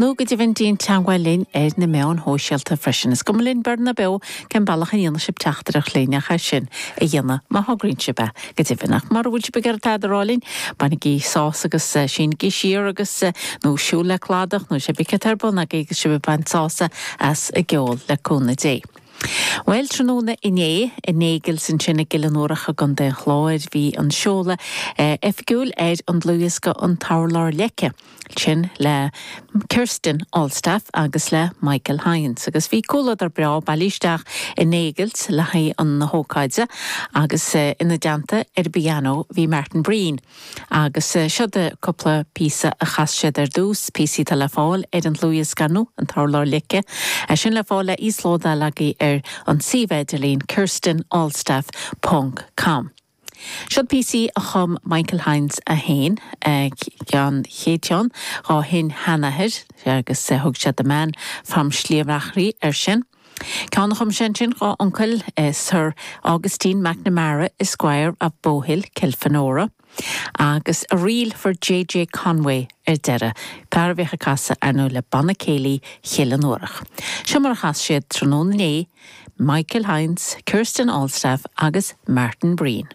Nó go deimhin déan teagmháil linn ar na meáin shóisialta freisin. Is cuma linn beo nó beo cén bealach a ndéanann sibh teachtaireacht linn ach é sin a dhéanamh má thograíonn sibh é, go deimhin. Ach mura bhfuil sibh ag iarraidh tada a rá linn, bainigí sás agus sínigí siar agus, nó siúl le cladach nó cibé céard atá ar bun agaibh agus sibh ag baint sásamh as an gceol le cúnamh Dé. Bhuel, tráthnóna inné, in Nagel's ansin i gCill an Fhuarach i gContae an Chláir, bhí an seoladh oifigiúil ar an dlúthdhiosca An tUrlár Leice. Sin le Kirsten Allstaff agus le Michael Hynes. Agus bhí comhluadar breá bailithe isteach i Nagel's le haghaidh na hócáide agus ina dteannta ar an bpianó bhí Martin Breen. Agus seod cúpla píosa a chas siad ar dtús, píosaí atá le fáil ar an dlúthdhiosca ar ndóigh, An tUrlár Leice. É sin le fáil le íoslódáil agaibh ar an suíomh idirlín kirstenallstaff ponc com. Seod píosaí a chum Michael Hynes é féin, an chéad cheann dhá shin-sheanathair agus thug sé The Man from Sliabh air sin. Ceann a chum sé ansin dhá uncail, Sir Augustine McNamara, Esquire of Bowhill, Kilfenora, agus A Reel for JJ Conway ar deireadh, fear a bhíodh ag casadh ar ndóigh le Banna Céilí Chill an Fhuarach. Seo mar a chas siad tráthnóna inné, Michael Hynes, Kirsten Allstaff agus Martin Breen.